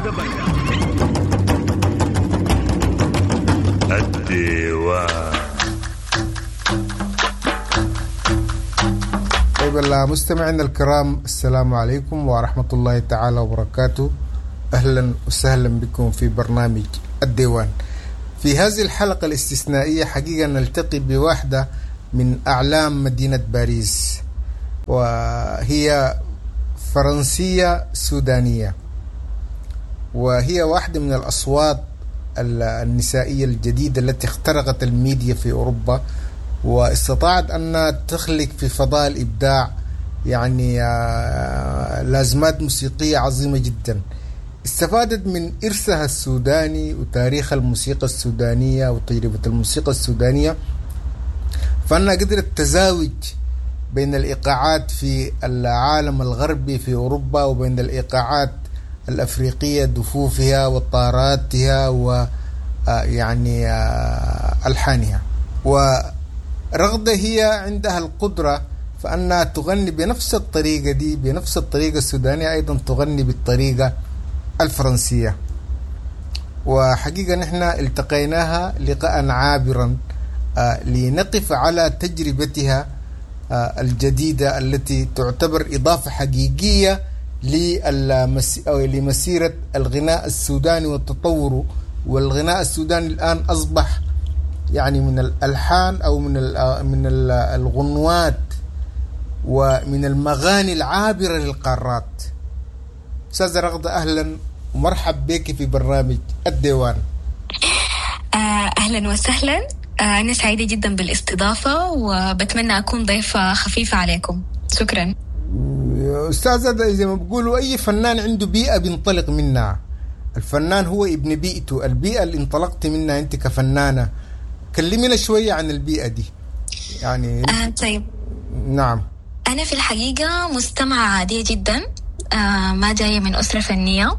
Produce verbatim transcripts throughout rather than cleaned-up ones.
برنامج الديوان. طيب المستمعين الكرام، السلام عليكم ورحمة الله تعالى وبركاته. أهلا وسهلا بكم في برنامج الديوان. في هذه الحلقة الاستثنائية حقيقة نلتقي بواحدة من أعلام مدينة باريس، وهي فرنسية سودانية، وهي واحدة من الأصوات النسائية الجديدة التي اخترقت الميديا في أوروبا، واستطاعت أن تخلق في فضاء الإبداع يعني لازمات موسيقية عظيمة جدا. استفادت من إرثها السوداني وتاريخ الموسيقى السودانية وتجربة الموسيقى السودانية، فأنها قدرت تزاوج بين الإيقاعات في العالم الغربي في أوروبا وبين الإيقاعات الأفريقية، دفوفها وطاراتها ويعني ألحانها. ورغدة هي عندها القدرة فأنها تغني بنفس الطريقة دي، بنفس الطريقة السودانية، أيضا تغني بالطريقة الفرنسية. وحقيقة نحن التقيناها لقاء عابرا لنقف على تجربتها الجديدة التي تعتبر إضافة حقيقية لمسيرة الغناء السوداني والتطور. والغناء السوداني الآن أصبح يعني من الألحان أو من من الغنوات ومن المغاني العابرة للقارات. أستاذة رغدة، أهلا ومرحب بك في برنامج الديوان. أهلا وسهلا، أنا سعيدة جدا بالاستضافة وبتمنى أكون ضيفة خفيفة عليكم. شكرا. أستاذة، زي ما بيقولوا أي فنان عنده بيئة بينطلق منها. الفنان هو ابن بيئته، البيئة اللي انطلقت منها أنت كفنانة. كلمينا شوية عن البيئة دي يعني. آه طيب. نعم. أنا في الحقيقة مستمعة عادية جدا، آه ما جاية من أسرة فنية،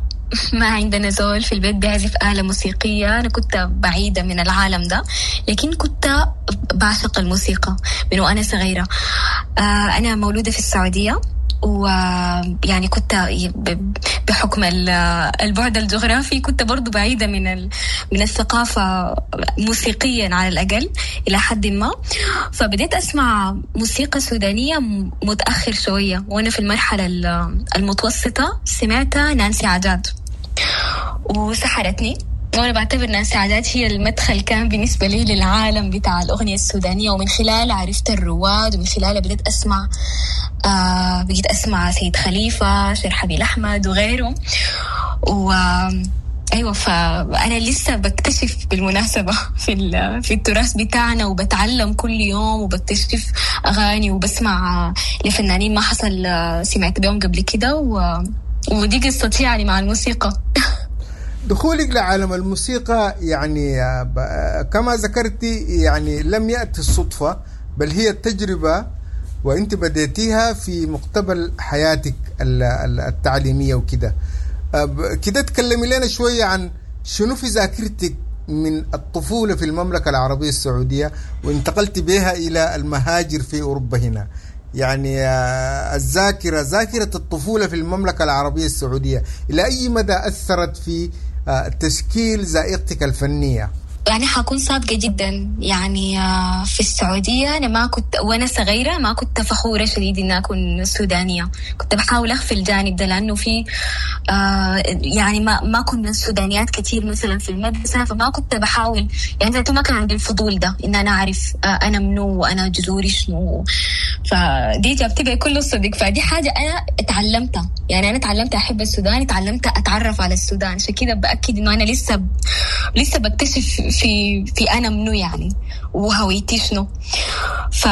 ما عندنا زول في البيت بيعزف آلة موسيقية. أنا كنت بعيدة من العالم ده، لكن كنت بعشق الموسيقى من وأنا صغيرة. آه أنا مولودة في السعودية، ويعني كنت بحكم البعد الجغرافي كنت برضو بعيدة من من الثقافة موسيقيا على الأقل إلى حد ما. فبدأت أسمع موسيقى سودانية متأخر شوية، وأنا في المرحلة المتوسطة سمعت نانسي عجاج وسحرتني. وأنا بعتبر نانسي عجاج هي المدخل كان بالنسبة لي للعالم بتاع الأغنية السودانية، ومن خلال عرفت الرواد، ومن خلالها بدأت أسمع آه بقيت أسمع سيد خليفة، شرحبيل أحمد وغيره. و أيوة، فأنا لسه بكتشف بالمناسبة في في التراث بتاعنا، وبتعلم كل يوم، وبكتشف أغاني، وبسمع لفنانين ما حصل سمعت بهم قبل كده. و... ودي قصتي يعني مع الموسيقى. دخولك لعالم الموسيقى يعني كما ذكرتي يعني لم يأتي الصدفة، بل هي التجربة، وانت بديتيها في مقتبل حياتك التعليمية وكده. كده تكلمي لنا شوية عن شنو في ذاكرتك من الطفولة في المملكة العربية السعودية وانتقلت بها إلى المهاجر في أوروبا هنا. يعني الذاكرة، ذاكرة الطفولة في المملكة العربية السعودية إلى أي مدى أثرت في تشكيل ذائقتك الفنية؟ يعني حكون صادقة جدا، يعني في السعودية أنا ما كنت وأنا صغيرة ما كنت فخورة شديد إن أكون سودانية. كنت بحاول أخفي الجانب ده، لأنه في آه يعني ما ما كنا سودانيات كتير مثلا في المدرسة، فما كنت بحاول يعني ما كان عندي الفضول ده إن أنا أعرف آه أنا منو وأنا جذوري شنو. فدي جابتي بكل الصدق. فدي حاجة أنا اتعلمتها، يعني أنا تعلمت أحب السودان، تعلمت أتعرف على السودان. عشان كده بأكد إنه أنا لسه ب... لسه بكتشف في في أنا منو يعني وهويتي شنو. ف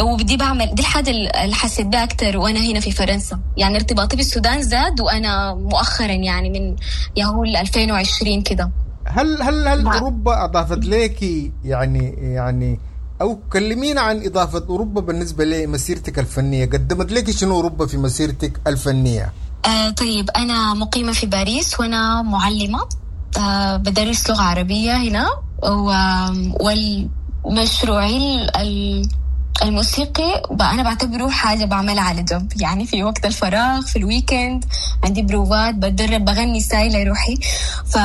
وبدي بعمل دي الحاجة اللي حسيت بها أكتر وأنا هنا في فرنسا. يعني ارتباطي بالسودان زاد وأنا مؤخرا يعني من يهول ألفين وعشرين كده. هل هل هل أوروبا أضافت لك يعني يعني أو كلمينا عن إضافة أوروبا بالنسبة لمسيرتك الفنية، قدمت لك شنو أوروبا في مسيرتك الفنية؟ آه طيب، أنا مقيمة في باريس وأنا معلمة، آه بدرس لغة عربية هنا، والمشروعي الموسيقي أنا بعتبره حاجة بعملها على جنب، يعني في وقت الفراغ، في ال weekend عندي بروفات، بتدرب، بغني ساي لروحي. ف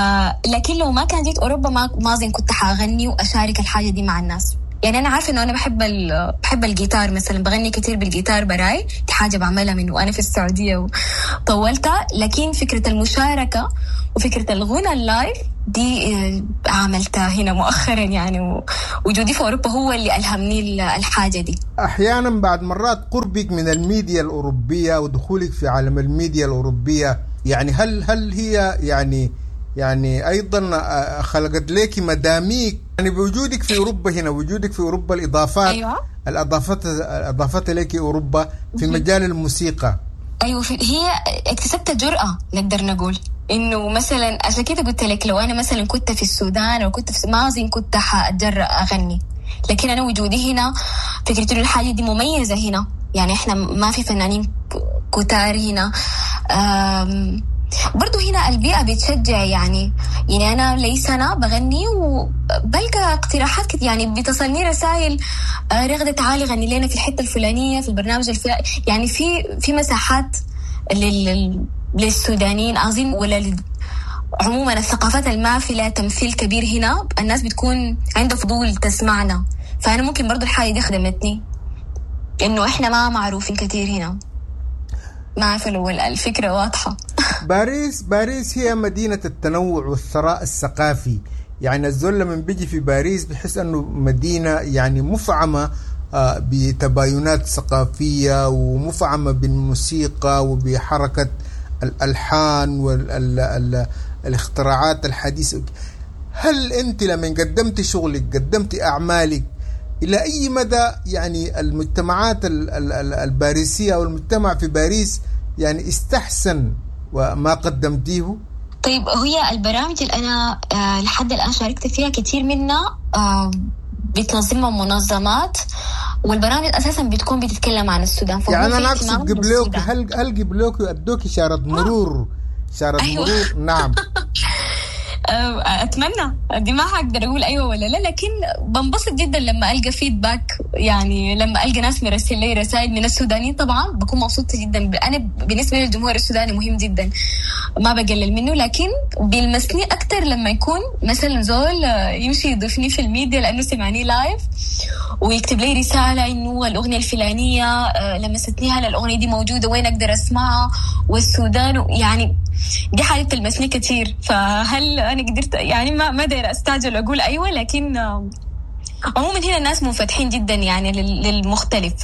لكن لو ما كان جيت أوروبا ما ما أظن كنت حأغني وأشارك الحاجة دي مع الناس. يعني أنا عارفة إنه أنا بحب ال... بحب الجيتار مثلا، بغني كتير بالجيتار براي، دي حاجة بعملها من وأنا في السعودية وطولتها. لكن فكرة المشاركة وفكرة الغنى ال live دي عملتها هنا مؤخرا يعني، وجودي في أوروبا هو اللي ألهمني الحاجة دي. أحيانا بعد مرات قربك من الميديا الأوروبية ودخولك في عالم الميديا الأوروبية، يعني هل هل هي يعني يعني أيضا خلقت لك مداميك، يعني بوجودك في أوروبا هنا، وجودك في أوروبا، الإضافات أيوة. الأضافات أضافت لك أوروبا في مجال الموسيقى. أيوة، هي اكتسبت جرأة نقدر نقول إنه مثلا، عشان كده قلت لك لو أنا مثلا كنت في السودان أو كنت في ما أظن كنت حأتجرأ أغني، لكن أنا وجودي هنا فكرة إنه الحاجة دي مميزة هنا، يعني إحنا ما في فنانين كتار هنا. برضو هنا البيئة بتشجع، يعني يعني أنا لي سنة بغني وبلقى اقتراحات كتير، يعني بتصلني رسائل رغدة تعالي غني لنا في الحتة الفلانية في البرنامج الفلاني، يعني في في مساحات لل للسودانيين أظن، ولا لل... عموما الثقافات المافية لها تمثيل كبير هنا، الناس بتكون عندها فضول تسمعنا. فأنا ممكن برضو الحاجة دي خدمتني إنه إحنا ما معروفين كتير هنا. ما عارفة لو الفكرة واضحة. باريس باريس هي مدينة التنوع والثراء الثقافي، يعني الزول لما بيجي في باريس بحس أنه مدينة يعني مفعمة بتباينات ثقافية، ومفعمة بالموسيقى وبحركة الألحان والاختراعات الحديثة. هل أنت لما قدمت شغلك، قدمت أعمالك، إلى أي مدى يعني المجتمعات الباريسية أو المجتمع في باريس يعني استحسن وما قدمتيه؟ طيب، هي البرامج اللي أنا لحد الآن شاركت فيها كتير منها بتنظمها منظمات، والبرامج أساساً بتكون بتتكلم عن السودان. يعني أنا أقصد قبلوك، هل هل قبلوك أدوك إشارة مرور؟ إشارة أيوة. مرور، نعم. أتمنى، دي ما هقدر أقول أيوة ولا لا، لكن بنبسط جدا لما ألقى فيدباك، يعني لما ألقى ناس مرسل لي رسائل من السودانيين طبعا بكون مبسوطة جدا. أنا بالنسبة للجمهور السوداني مهم جدا، ما بقلل منه، لكن بيلمسني أكتر لما يكون مثلا زول يمشي يضيفني في الميديا لأنه سمعني live ويكتب لي رسالة إنه الأغنية الفلانية لمستني، هل الأغنية دي موجودة، وين أقدر أسمعها، والسودان، يعني دي حاجة تلمسني كتير. فهل أنا قدرت يعني ما ما داير أستعجل أقول أيوة، لكن عموما هنا الناس منفتحين جدا يعني للمختلف،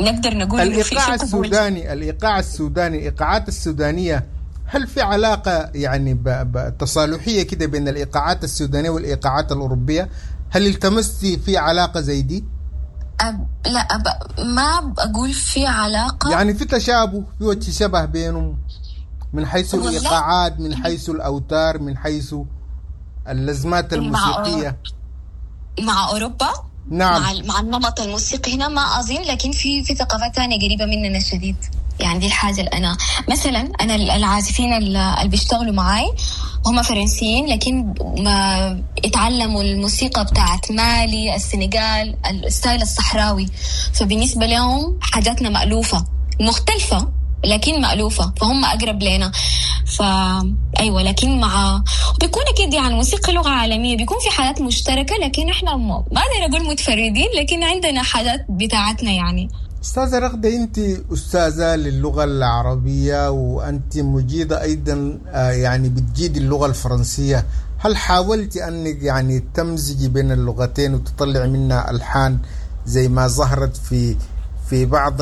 نقدر نقول الإيقاع السوداني، الإيقاع السوداني، الإيقاعات السودانية، هل في علاقة يعني تصالحية كده بين الإيقاعات السودانية والإيقاعات الأوروبية؟ هل التمستي في علاقة زي دي؟ أب لا أب ما بقول في علاقة، يعني في تشابه، في وجه شبه بينهم من حيث الإيقاعات، من حيث الأوتار، من حيث اللزمات الموسيقية مع, مع أوروبا؟ نعم، مع, مع النمط الموسيقي هنا ما أظن، لكن في في ثقافات ثانية قريبة مننا شديد. يعني دي الحاجة اللي أنا مثلا، أنا العازفين اللي بيشتغلوا معاي هم فرنسيين، لكن ما اتعلموا الموسيقى بتاعت مالي، السنغال، ال style الصحراوي، فبالنسبة لهم حاجاتنا مألوفة، مختلفة لكن مألوفة، فهم أقرب لنا. فا أيوة، لكن مع بيكون أكيد يعني الموسيقى لغة عالمية، بيكون في حالات مشتركة، لكن إحنا ما أقدر أقول متفردين، لكن عندنا حاجات بتاعتنا يعني. أستاذة رغدة، أنت أستاذة للغة العربية وأنت مجيدة أيضا، يعني بتجيد اللغة الفرنسية، هل حاولت أنك يعني تمزجي بين اللغتين وتطلع منها ألحان زي ما ظهرت في في بعض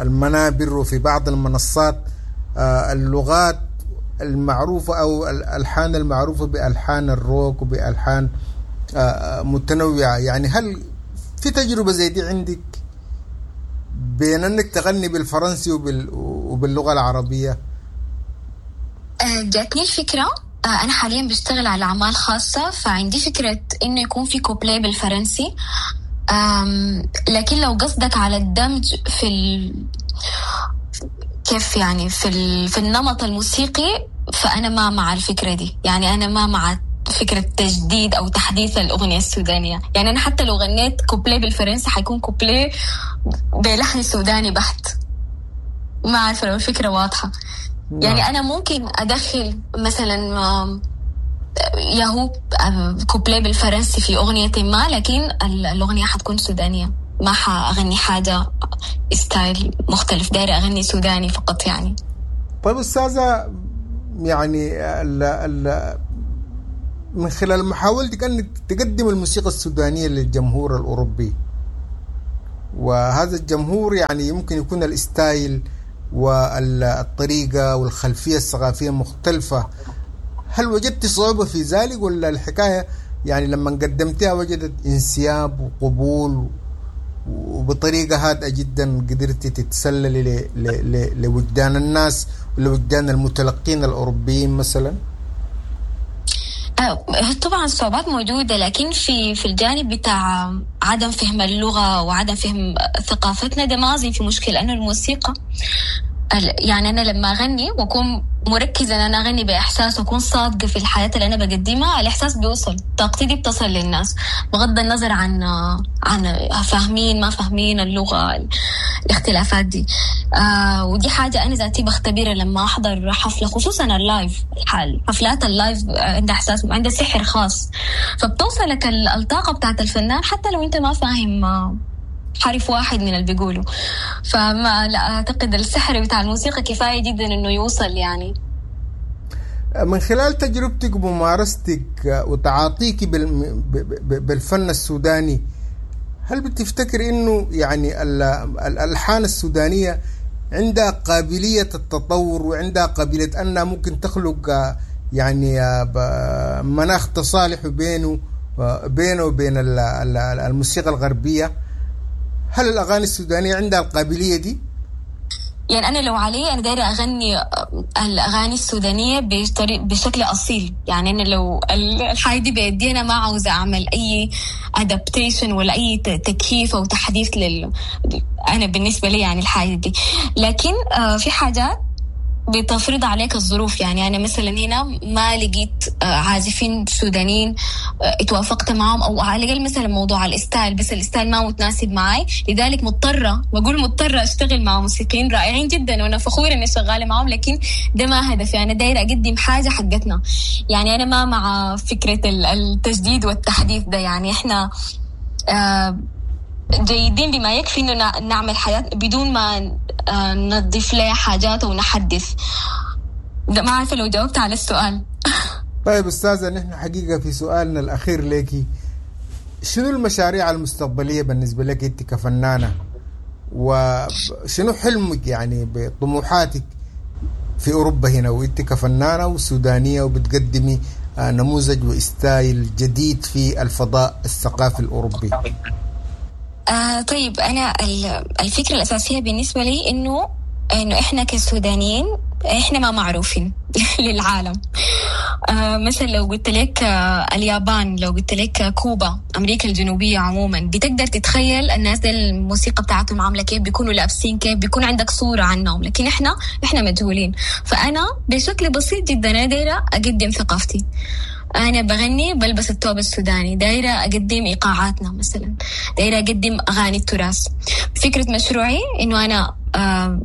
المنابر وفي بعض المنصات، اللغات المعروفة أو الألحان المعروفة بألحان الروك وبألحان متنوعة؟ يعني هل في تجربة زي دي عندك بين أنك تغني بالفرنسي وبال وباللغة العربية؟ جاتني الفكرة. أنا حاليا بشتغل على أعمال خاصة، فعندي فكرة إنه يكون في كوبليه بالفرنسي، لكن لو قصدك على الدمج في ال... كيف يعني في ال... في النمط الموسيقي، فأنا ما مع الفكرة دي. يعني أنا ما مع فكرة تجديد أو تحديث الأغنية السودانية. يعني أنا حتى لو غنيت كوبليه بالفرنسي حيكون كوبليه بلحن سوداني بحت. ما عارفة لو الفكرة واضحة. نعم. يعني أنا ممكن أدخل مثلا ياهو كوبليه بالفرنسي في أغنية ما، لكن الأغنية حتكون سودانية، ما حأغني حاجة style مختلف، دايرة أغني سوداني فقط يعني. طيب أستاذة، يعني ال ال من خلال محاولتك أنك تقدم الموسيقى السودانية للجمهور الأوروبي، وهذا الجمهور يعني يمكن يكون ال style والطريقة والخلفية الثقافية مختلفة، هل وجدت صعوبة في ذلك ولا الحكاية يعني لما قدمتها وجدت انسياب وقبول وبطريقة هادئة جدا قدرت تتسللي لوجدان الناس ولوجدان المتلقين الأوروبيين مثلا؟ طبعا الصعوبات موجودة، لكن في في الجانب بتاع عدم فهم اللغة وعدم فهم ثقافتنا ده ما أظن في مشكلة، لأنه الموسيقى يعني أنا لما أغني وأكون مركزة أن أنا أغني بإحساس وأكون صادقة في الحياة اللي أنا بقدمها، الإحساس بيوصل، طاقتي دي بتصل للناس بغض النظر عن عن فاهمين ما فاهمين اللغة، الاختلافات دي. آه ودي حاجة أنا ذاتي بختبرها لما أحضر حفلة، خصوصا ال live، حفلات ال live عندها إحساس، عندها سحر خاص، فبتوصلك الطاقة بتاعت الفنان حتى لو أنت ما فاهم حرف واحد من اللي بيقوله. فما لا أعتقد السحر بتاع الموسيقى كفاية جدا إنه يوصل يعني. من خلال تجربتك وممارستك وتعاطيك بالفن السوداني، هل بتفتكر إنه يعني الألحان السودانية عندها قابلية التطور وعندها قابلية أنها ممكن تخلق يعني مناخ تصالح بينه بينه وبين الموسيقى الغربية؟ هل الأغاني السودانية عندها القابلية دي؟ يعني أنا لو علي أنا دايرة أغني الأغاني السودانية بطريق بشكل أصيل، يعني أنا لو الحاجة دي بيدي أنا ما عاوزة أعمل أي adaptation ولا أي تكييف أو تحديث لل أنا بالنسبة لي يعني الحاجة دي. لكن في حاجات بتفرض عليك الظروف، يعني أنا مثلا هنا ما لقيت عازفين سودانيين اتوافقت معهم، أو على الأقل مثلا موضوع ال style، بس ال style ما متناسب معي، لذلك مضطرة، بقول مضطرة أشتغل مع موسيقيين رائعين جدا وأنا فخورة إني شغالة معهم، لكن ده ما هدفي، أنا دايرة أقدم حاجة حقتنا. يعني أنا ما مع فكرة التجديد والتحديث ده، يعني إحنا آه جيدين بما يكفي إنه نعمل حياة بدون ما نضيف لها حاجات ونحدث. ده ما عارفة لو جاوبت على السؤال. طيب أستاذة، نحن حقيقة في سؤالنا الأخير لك، شنو المشاريع المستقبلية بالنسبة لك أنت كفنانة، وشنو حلمك يعني بطموحاتك في أوروبا هنا وأنت كفنانة وسودانية وبتقدمي نموذج وستايل جديد في الفضاء الثقافي الأوروبي؟ آه طيب، أنا الفكرة الأساسية بالنسبة لي إنه إنه إحنا كسودانيين إحنا ما معروفين للعالم. آه مثلا لو قلت لك آه اليابان، لو قلت لك كوبا، أمريكا الجنوبية عموما، بتقدر تتخيل الناس دي الموسيقى بتاعتهم عاملة كيف، بيكونوا لابسين كيف، بيكون عندك صورة عنهم، لكن إحنا إحنا مجهولين. فأنا بشكل بسيط جدا أنا دايرة أقدم ثقافتي، أنا بغني بلبس الثوب السوداني، دايرة أقدم إيقاعاتنا مثلا، دايرة أقدم أغاني التراث. فكرة مشروعي إنه أنا آه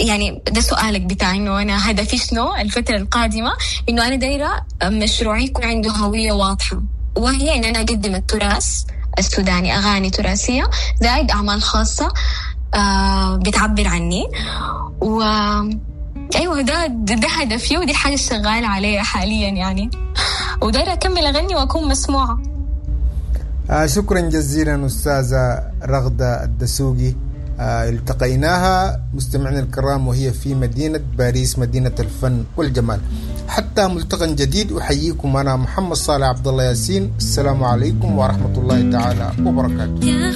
يعني ده سؤالك بتاع إنه أنا هدفي شنو الفترة القادمة، إنه أنا دايرة مشروعي يكون عنده هوية واضحة، وهي إن أنا أقدم التراث السوداني، أغاني تراثية زائد أعمال خاصة آه بتعبر عني. و أيوة ده ده هدفي، ودي الحاجة الشغالة عليها حاليا يعني، ودايرة أكمل أغني وأكون مسموعة. آه شكرا جزيلا أستاذة رغدة الدسوقي. آه التقيناها مستمعينا الكرام وهي في مدينة باريس، مدينة الفن والجمال. حتى ملتقى جديد، أحييكم أنا محمد صالح عبد الله ياسين. السلام عليكم ورحمة الله تعالى وبركاته.